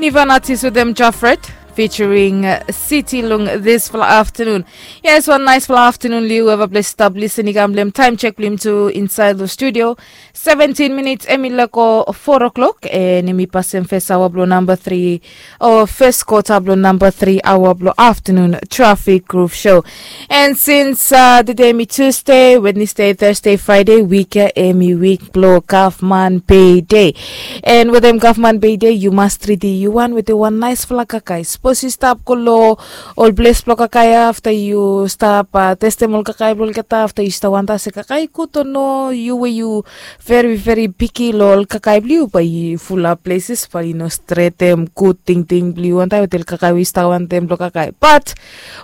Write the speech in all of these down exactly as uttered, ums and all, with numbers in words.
Nivan atis wetem Jafret featuring City long disfala aftanun. Yes, wan naisfala aftanun long yu eva ples stap lisin i kam long time check blong yumi tu inside long studio. Seventeen minutes em i lako four o'clock and em i pasim fes awa blong namba three o fes kota blong namba three awa blong aftanun traffic groove show. And since uh, today mi Tuesday, Wednesday, Thursday, Friday, week em i week blong government pay day. And wetem government pay day, you must treat you one with one nice fala kakai. Suppose you stop kolo ol ples blong kakai after you stop uh, testem ol kakai blong olgeta after you stop wanta se kakai kuto no you where you very very picky lo ol kakai blong you by full up places by you know straight them good thing thing blong you wanta with ol kakai we stop want them blong kakai. But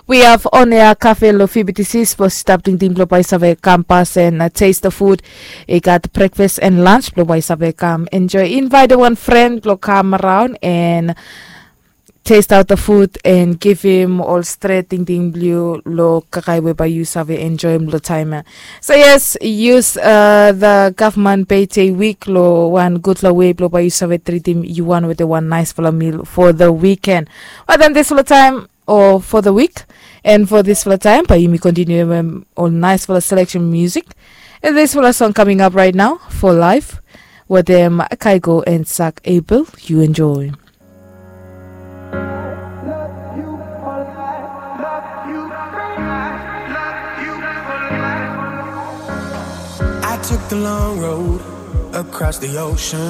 we have on air cafe lo fibitisi suppose stop ting ting blong by save come pass and uh, taste the food. I got breakfast and lunch blong by save come enjoy invite one friend blong come around and taste out the food and give him ol stret tingting blong yu lo kakai we by yu save enjoy him lo time ya. So yes, use uh, the government pay te week lo one good lo way blong by yu save treat him you one with the one nice fala meal for the weekend. But then this lo time or for the week. And for this fala time, by yumi continue um, on nice fala selection music. And this fala song coming up right now for life. With them Kaigo and Sak Abel, you enjoy. I took the long road across the ocean.